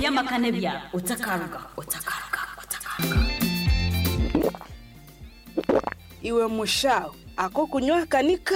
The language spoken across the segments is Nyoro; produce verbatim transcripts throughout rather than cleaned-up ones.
Y'amaka n'ebyaro otakaruga otakaruga otakaruga. Iwe mushaho ako kunywa kanika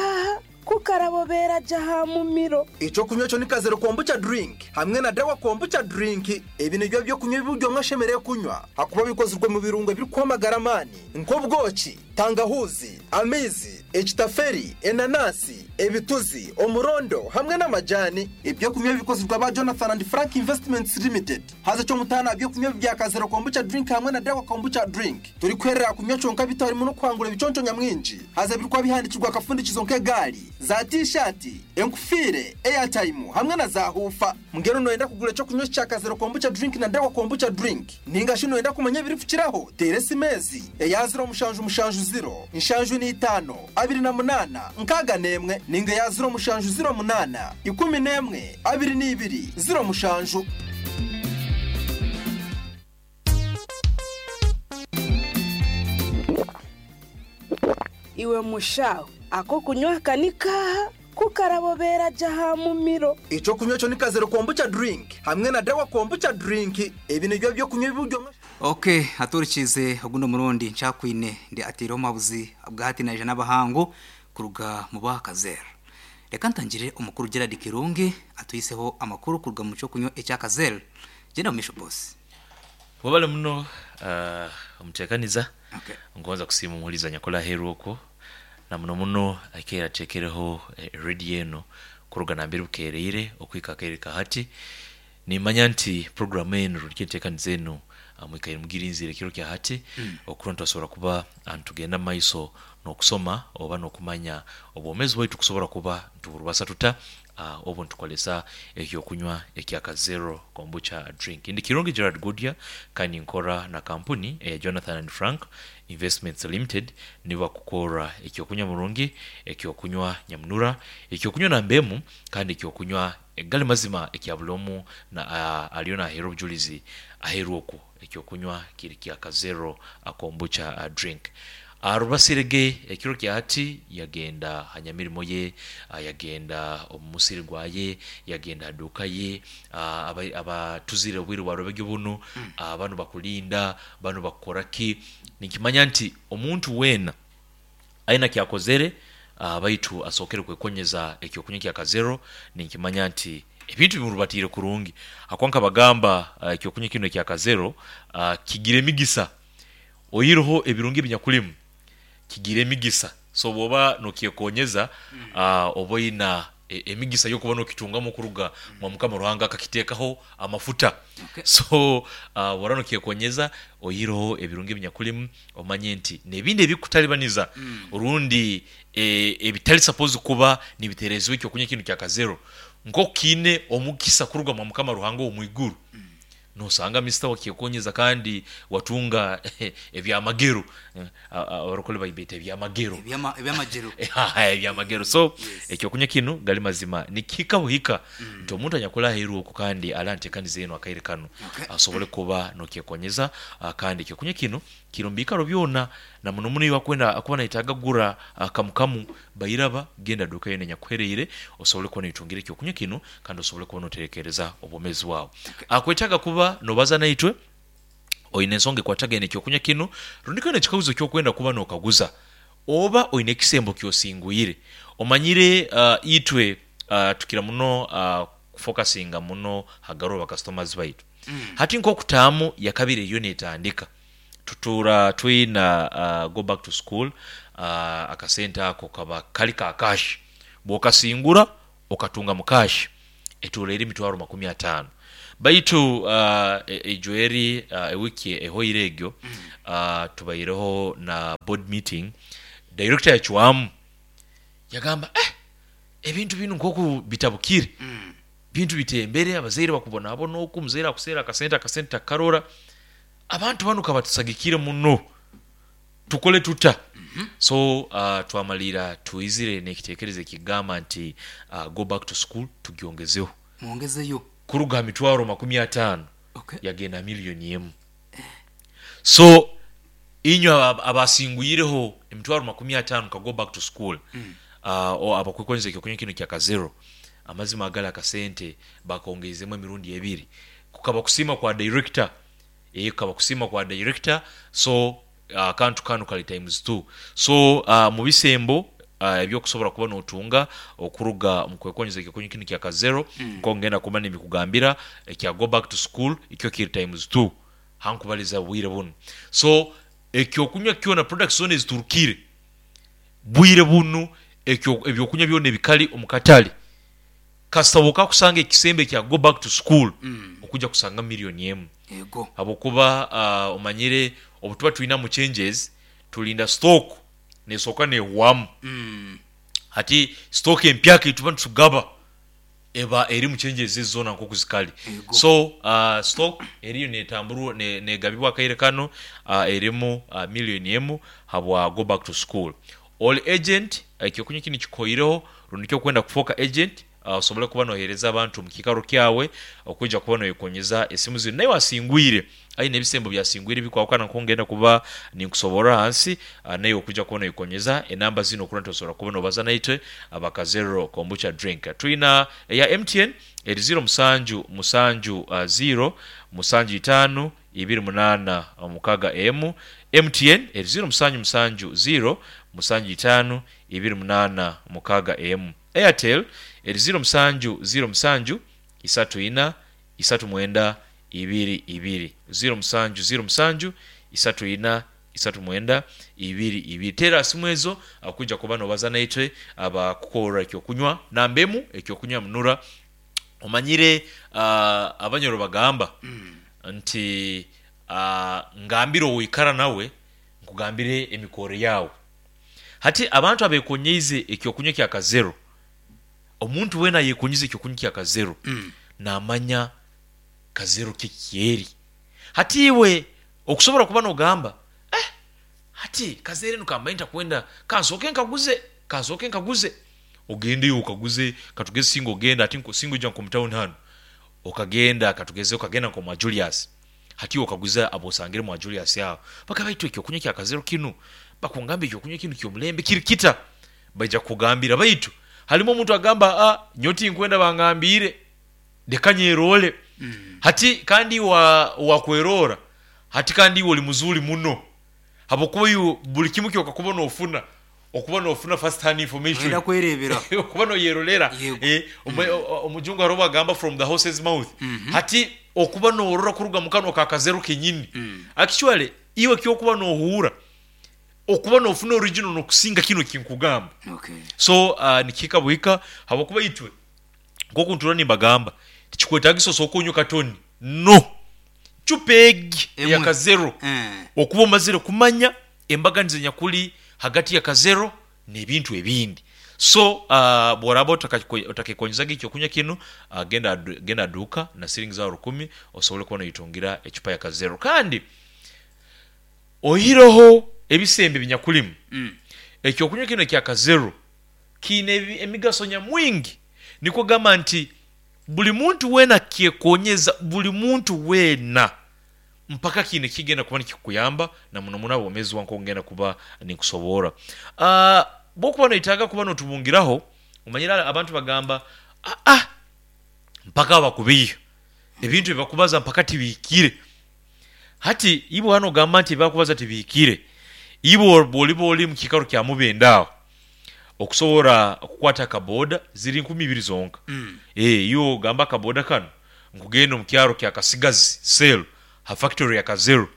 kukarabobera jaha mumiro. Icyo kunywa cyo ni Kazero Kombucha drink hamwe na Dawa Kombucha drink. Ibi nibyo byo kunywa ibyo mwashemereye kunywa, hakuba bikozwe mu birungo biri kwamagara amani nk'ubwoki, tangahuzi, amizi, ekitaferi, enanasi, ebituzi, omurondo hamwe n'amajani. Ibyo kunywa bikozwe ba Jonathan and Frank Investments Limited. Haza cyo mutana byo kunywa bya Kazero Kombucha drink hamwe na Dawa Kombucha drink turi kwerera kunywa conka bitarimo no kwangura ibiconco nyamwinji. Haza birikwa bihandikirwa akafundikizo nk'egali za t-shirt, enkufire, airtime hamwe na za hufa. Mugero noyenda kugura cyo kunywa cya Kazero Kombucha drink na Dawa Kombucha drink, ninga shino yenda kumenya biripfukiraho, tere simezi eya zero mushanju mushanju zero inshanju ni itano abiri na munana nkaga nemwe, ninga ya zero mushanju zero munana ikumi nemwe abiri n'ibiri zero mushanju. Iwe mushaho ako kunywa kanika kukarabobera jaha mumiro. Icyo kunywa cyo ni Kazero Kombucha drink hamwe na Dawa Kombucha drink. Ibi nibyo byo kunywa ibyo. Okay, aturikize ogundo murundi ncakwine ndi atiro mabuzi bwahati na jana bahango kuruga mu bakazera. Reka ntangire umukuru Gerard Kirungi atuyiseho amakuru kuruga mu cyo kunywa ecyakazera. Genda mumisho boss. Wabale muno uh, omutekaniza. Okay. Ngonza kusiima omuhuliza nyakola heru okwo na muno muno akeera tekereho eh, radio eno kuruga nambere bukereire okwika akere kahati. Nimanya nti program eno rukitekaniza eno mwikaire mugirinzire kiro kya hati mm. Okuronto asobora kuba antugenda maiso n'okusoma oba n'okumanya obwomezi bwaitu kusobora kuba ntuburubasa tuta uh, obu ntukolesa ekyokunywa ekya Kazero Kombucha drink. Ndi Kirungi Gerard Goodyear kandi nkora na kampuni eya Jonathan and Frank Investments Limited, niba kukora ekyokunywa murungi, ekyokunywa nyamunura, ekyokunywa nambemu kandi ekyokunywa egali mazima ekyabulomu na uh, aliona ahero obujulizi aheru okwo ekyokunywa kiri kya Kazero Kombucha uh, drink. Arubasirege ekiro kya hati yagenda hanyamirimo ye, yagenda omusiri gwaye, yagenda aduka ye, abatuzire obwiru bwarobege buno, mm. Bano bakulinda, bano bakoraki. Nikimanya nti omuntu wena aina kyakozere baitu asokere kwekonyeza ekyokunywa kya Kazero. Nikimanya nti ebintu bimurubatire kurungi akwanka bagamba ekyokunywa kino kya Kazero kigire migisa oyiroho ebirungi binyakulimu kigire emigisa. So bwoba nokyekonyeza mm. uh, oboina e, emigisa yokuba nokitungamo kuruga mwa Mukama Ruhanga akakitekaho amafuta. Okay. So uh, wora nokyekonyeza oyiroho ebirungi binyakulimu omanye nti nebindi ebikutalibaniza mm. Urundi e, ebitali suppose kuba nibiterezwe ekyo kunywa kino kya Kazero nko kine omukisa kuruga mwa Mukama Ruhanga omwiguru mm. Nosanga mister wakyekonyeza kandi watunga ebyamagero abarokole bayibeta ebyamagero ebyamagero ebyamagero. So ekyokunywa kino gali mazima nikika buhika nti omuntu anyakola heru okwo kandi alantekaniza eno akaire kano asobole kuba nokyekonyeza. Kandi ekyokunywa kino kirumbikaro byona na muno muno wakwenda akuba naitaga gura kamukamu bayiraba genda duka yene nyakwereire osobole kuba nitungira ekyokunywa kino kandi osobole kuba noterekereza obomezi wawe. Akwetaga kuba nobaza naitwe oine ensonga ekwatagene ekyokunywa kino rundiko nekikaguzo kyokwenda kuba nokaguza oba oine ekisembo kyosingwire omanyire. uh, itwe uh, tukira muno uh, kufokasinga muno hagaro ba customers baitu mm. Hati nkokutaamu yakabire yo netandika tutura twina uh, go back to school uh, akasenta ako kaba kali ka cash bwokasingura okatunga mu cash etura eri mitwaro makumi atano baitu uh, ejoeri uh, ewiki ehoire egyo mm. uh, tubaireho na board meeting, director yachwamu yagamba eh ebintu binu nkoku bitabukire mm. Bintu bitembere abazaire bakubona abo noku muzaire akusera akasenta akasenta karora abantu banu kabatusagikire muno tukole tuta mm -hmm. So uh, twamalira tuizire nekitekereze kigamba nti uh, go back to school tugiongezeho muongezeyo kuruga mitwaro makumi atano. Okay. Yagenda milioni emu. So inyo abasinguyireho emitwaro makumi atano ka go back to school mm. uh, o abakwekonze ekyokunywa kino kya Kazero amazima agala akasente bakongezemu emirundi ebiri. Kukaba kusima kwa director, eh kukaba kusima kwa director. So akantu kanu kali times two. So uh, mu bisembo uh, ebyokusobola kuba notunga okuruga mu kwekonyeza ekyokunywa kinu kya Kazero, mm. nko ngenda kuba nibikugambira ekya go back to school ikyo kiri times two hankubaliza bwire buno. So ekyokunywa kyona, products zona eziturukire bwire bunu, ekyo ebyokunywa byona ebikali omukatale, kasita kusanga ekisembe kya go back to school, mm. okuja kusanga miliyoni emu. Yego. Habwokuba uh, omanyire obutuba tulina mu changes tulinda stock nesooka nehwamu. Mm. Hati stock empyaka etuba nitugaba eba eri mu changes zona nkoku zikali. Yego. So uh, stock eriyo netamburwa ne, negabibwa akaire kano uh, erimu uh, miliyoni emu habwa go back to school. All agent, ekyokunywa kini kikoireho rundi kyokwenda kufoka agent, uh, osobole kuba nohereza abantu mu kikaro kyawe okuja kuba noyekonyeza esimu zino naye wasingwire aine ebisembo byasingwire bikwawukana nkongenda kuba ninkusobora hansi, uh, naye okuja kuba noyekonyeza enamba zino okura ntosobola kuba nobaza naitwe abakazero kombucha drink. Tulina eya M T N eri zero musanju musanju uh, zero musanju itano ibiri munana mukaga emu. M T N eri zero musanju musanju zero musanju itano ibiri munana mukaga emu. Airtel eri zero musanju zero musanju isatu ina isatu mwenda ibiri ibiri, zero musanju zero musanju isatu ina isatu mwenda ibiri ibiri. Tera simu ezo akuja kuba nobaza naitwe abakukora ekyokunywa nambemu ekyokunywa munura. Omanyire uh, abanyoro bagamba mm. nti uh, ngambire oikara nawe nkugambire emikoro yawe. Hati abantu abekonyeize ekyokunywa kya Kazero, omuntu wena yekonyize ekyokunywa kya Kazero mm. namanya Kazero kikyeri. Hati iwe okusobola kuba nogamba eh, hati Kazero nukamba kwenda kansoke nkaguze kansoke nkaguze, ogende okaguze katugeze singo ogenda ati nko singo ija nko town hano okagenda katugeze okagenda nko mwa Julius, hati okaguza abosangire mwa Julius yao baka baitu ekyokunywa kya Kazero kinu bakungamba ekyokunywa kinu kyomulembe kiri kita baija kugambira baitu halimo omuntu agamba ah nyoti nkwenda bangambire leka nyerole. Mm. Hati kandi wa wakwerora hati kandi oli muzuri muno habokuba yu buli kimu kyokakuba nofuna okuba nofuna first hand information wenda kwerebera okuba noyerolera eh omujungu aroba agamba from the horse's mouth. Mm -hmm. Hati okuba norora kuruga mukano ka Kazero kenyini. Mm. Actually iwe kyokuba nohura okuba nofuna original nokusinga kino kinkugamba. Okay. So uh, nikika buhika habokuba itwe nkoku ntura nimbagamba tikikwetagiso soko onyo katoni no chupegi ya Kazero eh. Okuba omazire kumanya embaganizo nyakuli hagati ya Kazero n'ebintu ebindi. So uh, bworaba otakekonyeza ekyokunywa kinu uh, genda genda duka na silingi za rukumi osobole kuba noyitungira echupa ya Kazero. Kandi ohiroho ebisembe binyakulimu. Mm. Ekyokunywa kino kya Kazero kiine emigaso nyamwingi, niko gamba nti buli muntu wena kyekonyeza buli muntu wena mpaka kine kigenda kuba nikikuyamba na muno muno obomezi wanko ngenda kuba nikusobora. Ah uh, bokuba noitaga kuba notubungiraho omanyira abantu bagamba ah ah mpaka bakubiyo ebintu ebakubaza mpaka tibikire. Hati ibo hano gamba nti bakubaza tibikire ibo boli boli mu kikaro kya mubendao okusobora kukwata kaboda ziri nkumi ibiri zonka. Mm. Eh yo gamba kaboda kano nkugenda mu kyaro kya Kasigazi sel ha factory ya Kazero.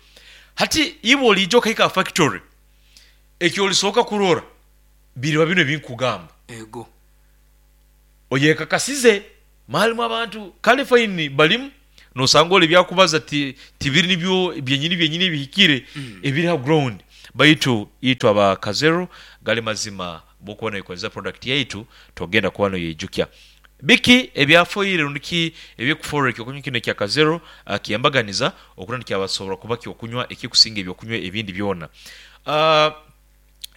Hati ibo lijo kaika factory ekyo olisoka kurora biri bino ebinkugamba ego oyeka kasize malimu abantu kale fine balimu nosanga ole byakubaza ti tibiri nibyo byenyini byenyini bihikire. Mm. Ebiri ha ground baitu itwa ba Kazero gale mazima bokubona ikozesa product yaitu togenda kuba noyijukya biki ebyafoire rundiki ebyekufora ekyokunywa kino kya Kazero uh, kiyambaganiza okurandi kyabasobora kuba kyokunywa ekikusinga ebyokunywa ebindi byona. Uh,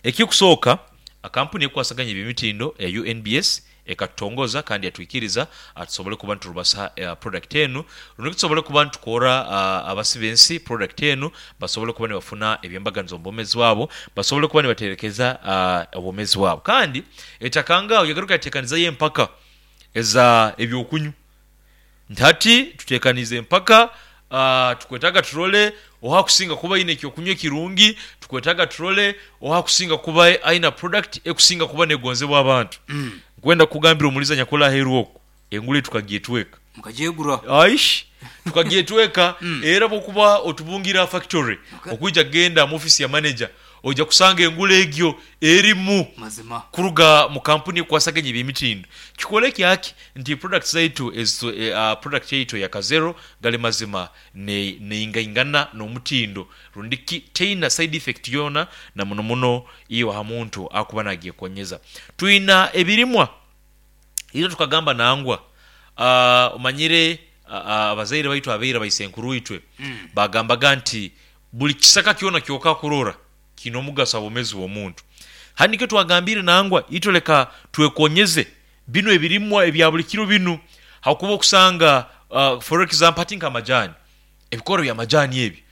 ekikusoka akampuni ekwasaganya ebimitindo ya U N B S ekatongoza kandi yatwikiriza atusobole kuba nturubasa uh, product enu rundi tusobole kuba ntukora uh, abasibensi product enu basobole kuba nibafuna ebyembaganizo mbomezi wabo basobole kuba nibaterekeza uh, obomezi wabo. Kandi etakanga yagaruka yatekaniza ye mpaka eza ebyokunywa Nti hati tutekanize empaka, uh, tukwetaga turole oha kusinga kuba aine ekyokunywa ekirungi, tukwetaga turole oha kusinga kuba aina product ekusinga kuba negonzebwa abantu. Mm. Nkwenda kugambira omuliza nyakula aheeru oku engule tukagyetweka. Mukagyegura. Aish, tukagyetweka. Mm. Era bwokuba otubungira factory, Okay. okuija kugenda mu office ya manager ojja kusanga engule egyo erimu Mazima. kuruga mu kampuni ekwasaganya ebyemitindo. Kikole kyaki nti products zaitu ezitu, eh, uh, product yaitu ya Kazero gali mazima ne neingaingana n'omutindo rundiki teina side effect yona na muno muno iyo ha muntu akuba nagyekonyeza. Twina ebirimwa ira tukagamba nangwa, uh, omanyire uh, uh, abazaire baitu abeira baisenkuru itwe Mm. bagambaga nti buli kisaka kyona kyoka kurora kina omugaso abomezi w'omuntu. Handi nikyo twagambire nangwa itoleka twekonyeze bino ebirimwa ebya buli kiro binu, hakuba okusanga uh, for example ati nk'amajani, ebikoro bya majani ebi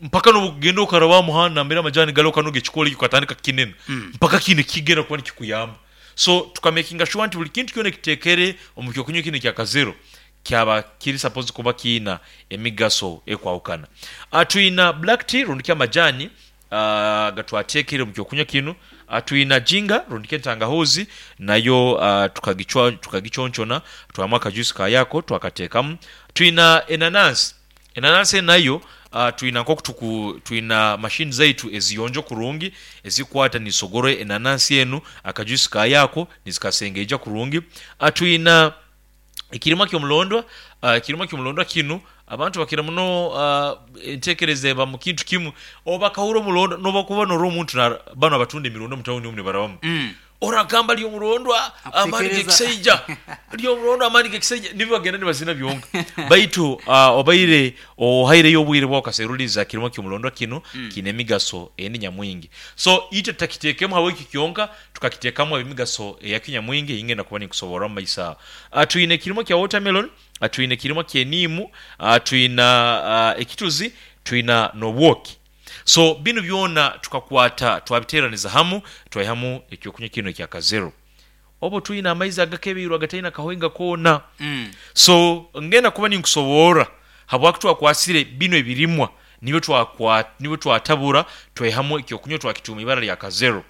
mpaka nobugenda okaraba muhanda nambere amajani galo kanoga ekikolo ekyo katandika kinene. Mm. Mpaka kine kigenda kuba nikikuyamba. So tukamakinga sure nti buli kintu kyona kitekere omu kyokunywa kino kya Kazero kyaba kiri supposed kuba kiina emigaso ekwawukana. Uh, twina black tea rundiki amajani uh, gatwatekere mu kyokunywa kino. Uh, twina jinga rundiki entangahuzi nayo, uh, tukagichwa tukagichonchona twamu akajuice kayako twakateekamu. Twina enanansi, enanansi nayo uh, twina nkokutuku twina machine zaitu eziyonjo kurungi ezikwata nisogoro enanansi enu akajuice kayako nizikasengeja kurungi. Uh, twina ekirima ky'omulondwa, uh, ekirima ky'omulondwa kinu abantu bakira muno uh, entekereza eba mu kintu kimu oba kahura omulondwa noba kuba nora omuntu na bano abatunda emirundo mu tawuni omu nibarabamu. Mm. Oragamba ly'omulondwa amaani Akutekereza. g'ekisaija, ly'omulondwa amaani g'ekisaija nibyo bagenda nibazina byonka. Baitu uh, obaire ohaireyo obwire bwawe okaseruliza kirima ky'omulondwa kino. Mm. Kiine emigaso endi nyamwingi. So itwe tutakiteekemu habweki kyonka, tukakiteekamu emigaso eyakyo nyamwingi eyingenda kuba ninkusoborra mu maiso aho. Uh, twine ekirima kya watermelon, uh, twine ekirima ky'eniimu, uh, twina uh, ekituzi, twina n'obwoki. So binu byona tukakwata twabiteraniza hamu twaihamu ekyokunywa kino ekya Kazero. Obo twina amaizi agakebiirwe agataina kahoinga koona. Mm. So ngenda kuba ninkusoborra habwaki twakwasire bino ebirimwa nibyo twakwa nibyo twatabura twaihamu ekyokunywa twakituma ibara lya Kazero.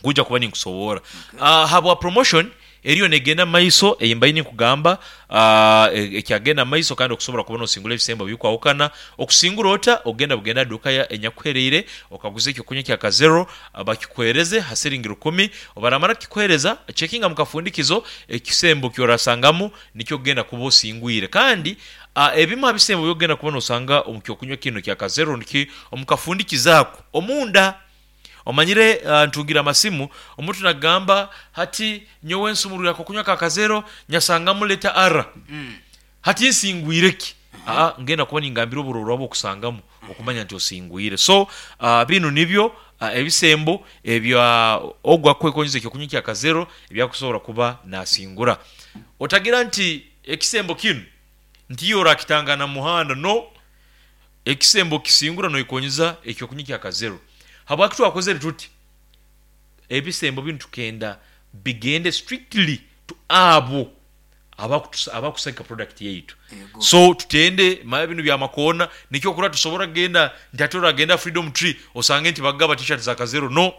Kuja kuba ninkusoborra. Okay. Uh, habwa promotion eriyo negenda maiso eyimbaini ninkugamba, uh, ekyagenda maiso kandi okusobola kubona osingura ebisembo bikwawukana. Okusingura ota ogenda bugenda duka ya enyakuhereire okaguza ekyokunywa kya Kazero, uh, bakikuhereze ha siringi rukumi. Obaramara kikuhereza checkinga mukafundikizo ekisembo kyorasangamu nikyo ogenda kuba osingwire. Kandi uh, ebimu ha bisembo byogenda kubona osanga omu kyokunywa kino kya Kazero niki omukafundikizo ako omunda. Omanyire, uh, ntungira amasimu omuntu nagamba hati nyowe nsumurira kokunywa ka Kazero nyasangamu leta ara. Mm. Hati nsingwire ki? Aa, ngenda kuba ningambira oburorwa bwokusangamu okumanya nti osingwire. So uh, binu nibyo uh, ebisembo ebya ogwa kwekonyeza ekyokunywa kya Kazero ebyakusobola kuba nasingura. Otagira nti ekisembo kinu nti orakitangana muhanda, no ekisembo kisingura noikonyeza ekyokunywa kya Kazero. Habwaki twakozere tuti ebisembo binu tukenda bigende strictly to abo abakutusa- abakusagika product yaitu. Yego. So tutende maya binu bya makona nikyo kura tusobora kugenda nti ate oragenda Freedom Tree osange nti bagaba t-shirt za Kazero. No,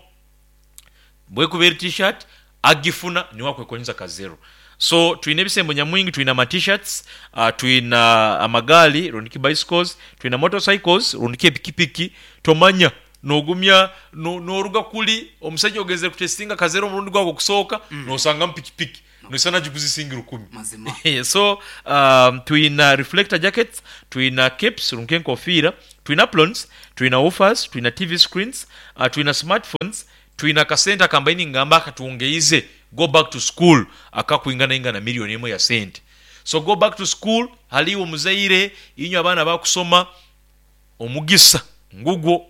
bwekubeera t-shirt agifuna niwe akwekonyeza Kazero. So twina ebisembo nyamwingi, twina ama t-shirts, uh, twina amagali rundiki bicycles, twina motorcycles rundiki epikipiki. Tomanya nogumya no, noruga kuli omusajja ogenzere kutestinga Kazero omurundi gwago okusooka. Mm. Nosanga mpikipiki nosana gikuzisingira rukumi. Mazima. So um, twina reflector jackets, twina caps runke enkofiira, twina plons, twina woofers, twina T V screens, uh, twina smartphones, twina akasente akambaini ngamba akatungeize go back to school akakwingana ingana milioni emwe ya sente. So go back to school haliwo omuzaire inywe abaana bakusoma omugisa ngugwo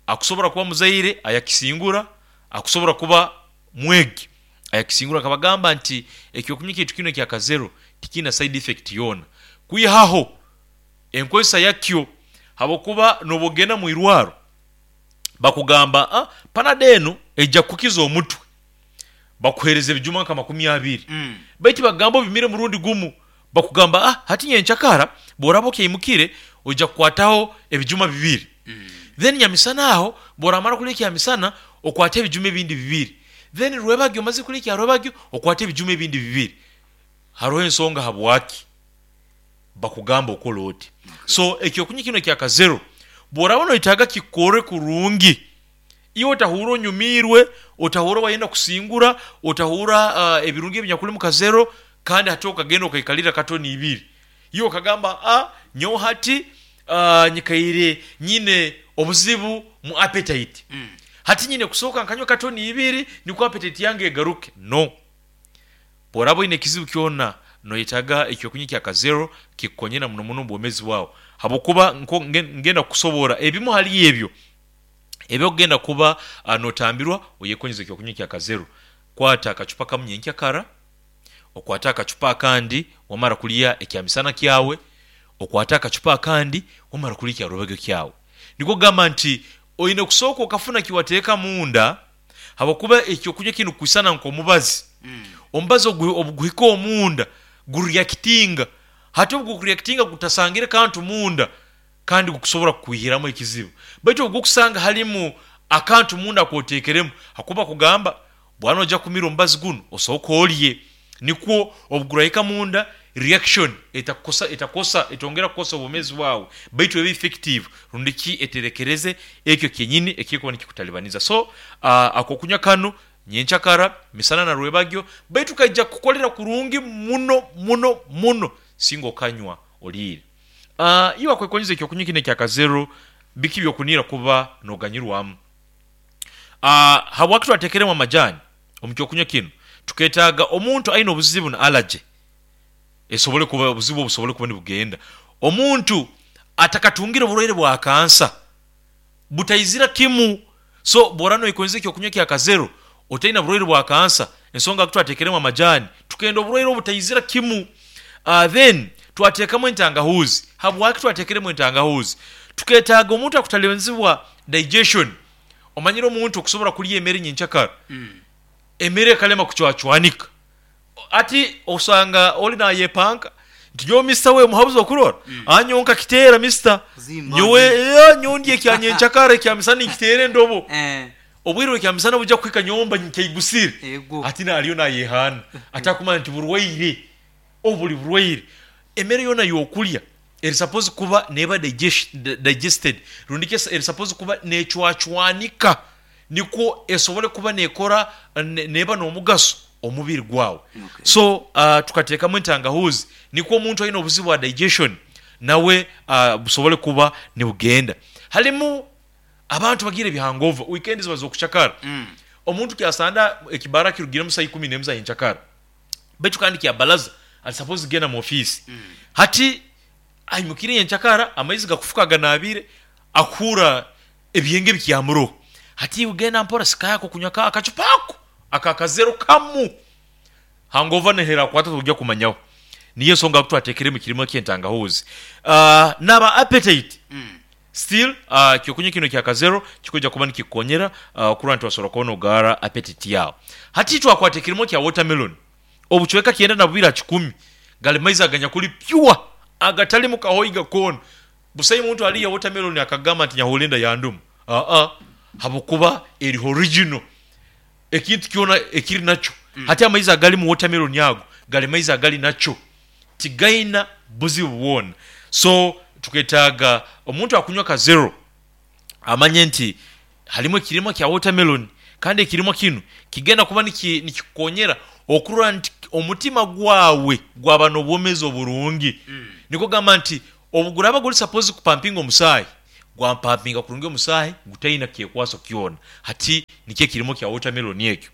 akusobora kuba muzaire ayakisingura, akusobora kuba mwegi ayakisingura. Akabagamba nti ekyokunywa kintu kino ekya Kazero tikina side effect yona kwihaho enkozesa yakyo, habwokuba nobogenda mu irwaro bakugamba, ah, panado enu ejja kukiza omutwe, bakuhereza ebijuma nka makumi abiri. Mm. Baitu bagamba obimire murundi gumu. Bakugamba ah hati nyenchakara bworaba okyayimukire ojja kukwataho ebijuma bibiri. Mm. Then nyamisana aho bworamara kulya ekyamisana okwate ebijuma ebindi bibiri. Then rwebagyo omaze kulya ekya rwebagyo okwate ebijuma ebindi bibiri. Hariho ensonga habwaki bakugamba okola oti. So ekyokunywa kino ekya kazero bworaba noyetaaga kikore kurungi, iwe otahura onyumirwe, otahura wayenda kusingura, otahura uh, ebirungi ebinyakuli mu kazero, kandi hati okagenda okaikalira katoni ibiri. Iwe okagamba ah nyowe hati uh, nyikaire nyine obuzibu mu appetite. Mm. Hati nyine kusooka nkanywa katoni ibiri nikwo appetite yange egaruke. No. Bworaba oine ekizibu kyona noyetaaga ekyokunywa kya kazero kikukonyera muno muno obwomezi bwawe. Habwokuba ngenda kukusobora ebimu hali ebyo ebyokugenda kuba uh, notambirwa oyekonyeza ekyokunywa kya kazero. Kwata akacupa kamu nyenkyakara, okwata akacupa akandi wamara kulya ekyamisana kyawe, okwata akacupa akandi wamara kulya ekyarubege kyawe. Nikwo kugamba nti oine kusooka okafuna kiwateeka munda, habwokuba ekyokunywa kinu kwisana nk'omubazi. Mm. Omubazi obuguhika omunda gureactinga, hati obugureactinga gutasangire kantu munda kandi gukusobora kukwihiramu ekizibu. Baitu obugukusanga halimu akantu munda kwoteekeremu, hakuba kugamba bwana ojja kumira omubazi guno osooka olye, nikwo obugurahika munda reaction etakosa etakosa etongera kukosa obwomezi bwawe, baitu ebe effective rundi ki eterekereze ekyo kyenyini ekikuba nikikutalibaniza. So uh, akokunywa kanu nyenchakara misana na rwebagyo, baitu kaija kukolera kurungi muno muno muno singa okanywa oliire. Uh, iwe akwekonyeza ekyokunywa kino ekya kazero biki byokunira kuba noganyirwamu. Uh, habwaki twatekeremu amajani omu kyokunywa kino? Tuketaaga omuntu aine obuzibu na allergy esobole kuba obuzibu obusobole kuba nibugenda. Omuntu atakatungire oburwaire bwa kansa butaizira kimu. So bwora noikonyeza ekyokunywa kya kazero otaina burwaire bwa kansa, ensonga twatekeremu amajani tukenda oburwaire obutaizira kimu. Uh, then twateekamu entangahuzi. Habwaki twatekeremu entangahuzi? Tuketaaga omuntu akutalibanizibwa digestion. Omanyire omuntu okusobora kulya emere nyenkyakara, mm. emere ekalema kucwacwanika, ati osanga oli nayepanka nti nyowe mister we muhabuzi okurora, mm. anyonka kiteera mister nyowe eh, nyondi ekyanyenkyakara ekyamisana nkiteera endobo eh. Obwire ekyamisana bujja kuhika nyomba nkeigusire, ati naliyo nayehana atakumanya nti burwaire obuli burwaire. Emere yona yokulya eri suppose kuba neba digested, rundi eri suppose kuba necwacwanika nikwo esobole kuba nekora neba n'omugaso omubiri gwawe. Okay. So uh, tukateekamu entangahuzi nikwo omuntu aine obuzibu bwa digestion nawe uh, busobole kuba nibugenda. Halimu abantu bagira ebihangova weekend ziba zokuchakara. Mm. Omuntu kyasanda ekibara kirugiremu saa ikumi n'emu za nyenkyakara, baitu kandi kyabalaza ali suppose genda mu office. Mm. Hati aimukire nyenkyakara amaizi gakufuka ganabire akuhura ebyenge bikyamuro, hati ugenda mpora sikayako kunywa ka akacupa ako akakazero kamu hangova nehera kwata tujja kumanyaho. Niyo ensonga twatekeremu kirimo ky'entangahuzi. Uh, naba appetite. Mm. Still uh, kyokunywa kino kya kazero kikuja kuba nikikukonyera uh, kurwa nti wasobola kubona ogara appetite yawe. Hati twakwata ekirimo kya watermelon obuchweka kyenda na bubiri kikumi gali maizi aganyakuli pure agatali mu kahoiga kona. Busayi muntu aliya watermelon akagamba nti nyahulenda yandumu. Ah ah, habukuba eri original ekintu kyona ekiri nakyo. Mm. Hati amaizi agali mu watermelon yago gali maizi agali nakyo tigaina buzibu bwona. So tuketaaga omuntu akunywa kazero amanye nti halimu ekirimo kya watermelon, kandi ekirimo kinu kigenda kuba nikikukonyera okurora nti omutima gwawe gwaba n'obwomezi oburungi. Mm. Niko gamba nti obuguraba guli suppose kupampinga omusaayi gwampampinga kurungi omusaayi gutaina kyekwaso kyona. Hati nikyo ekirimo kya watermelon ekyo.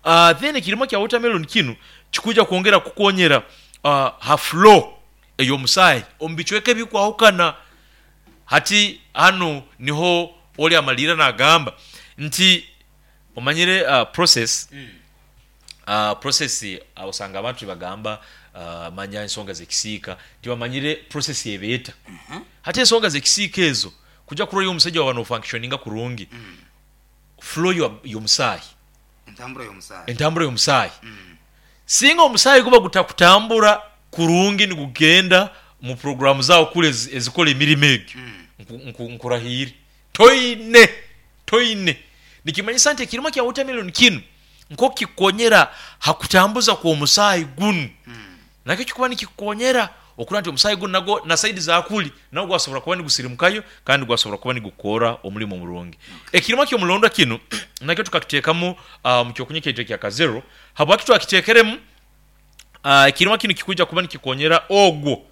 Uh, then ekirimo kya watermelon kinu kikuja kwongera kukonyera uh, ha flow ey'omusaayi omu bicweka ebikwahukana. Hati hanu niho oli amalira nagamba nti omanyire uh, process. Mm. Uh, process uh, osanga abantu tibagamba uh, manya ensonga z'ekisiika tibamanyire process ebeeta. Mm -hmm. Hati ensonga z'ekisiika ezo kujja kurora omusajja waba nofunctioninga kurungi. Mm. Flow y'omusaayi, entambura y'omusaayi, entambura y'omusaayi. Mm. Singa omusaayi guba gutakutambura Kurungi nigugenda mu programu zawo kule ezi- ezikola emirimu egyo. Nku- nku- nkurahire toine toine nikimanyisa nti ekirima kya watermelon kinu nkokikonyera hakutambuza kw'omusaayi gunu, nakyo kikuba nikikukonyera okura nti omusaayi gunu nago na saidi zakuli nago gwasobora kuba nigusirimukayo kandi gwasobora kuba nigukora omulimu omurungi. Ekirima ky'omulondwa kinu nakyo tukakiteekamu uh, mu kyokunywa kyaitu ekya Kazero. Habwaki twakiteekeremu? uh, ekirima kinu kikuja kuba nikikonyera ogwo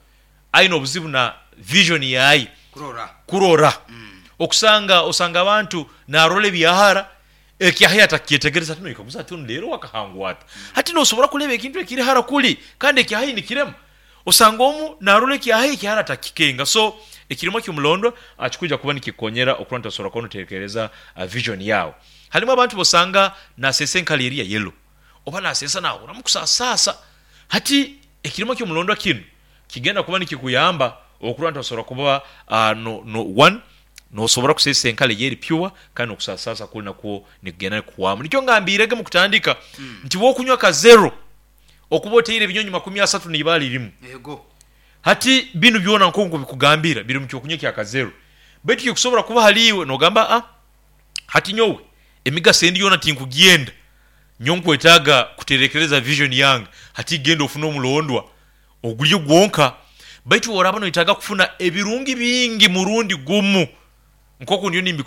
aine obuzibu na vision yaye, kurora, kurora. Okusanga osanga abantu narora ebyahara, ekyahaya atakyetegereza. Ati noikaguza ati ono leero wakahangwa ata? Hati nosobora kuleba ekintu ekiri hara kuli kandi ekyahai nikirema. Osanga omu narora ekyahai, ekyahara atakikenga. So ekirimo kyomulondwa kikuja kuba nikikonyera okuba nti osobola kuba notekereza uh, vision yawe. Halimu abantu bosanga nasesa enkala eri ya yellow oba nasesa nahuramu kusasasa. Hati ekirimo kyomulondwa kinu kigenda kuba nikikuyamba okuba nti osobola kuba uh, no, no, one nosobora kusesa enkala eyeri pure kandi nokusasasa kuli nakwo nikugenda nikuhwamu. Nikyo ngambirege mu kutandika nti wokunywa ka zero okuba oteire ebinyonyi makumi asatu n'ibaali rimu. Yego. Hati binu byona nkonko bikugambira biri mu kyokunywa kya Kazero, baitu kikusobora kuba haliiwe nogamba, a hati nyowe emigaso endi yoona tinkugyenda, nyowe nkwetaaga kuterekereza vision yange. Hati genda ofune omulondwa ogulye gwonka, baitu woraba noyetaaga kufuna ebirungi bingi murundi gumu nkoku ndiyo nimbi.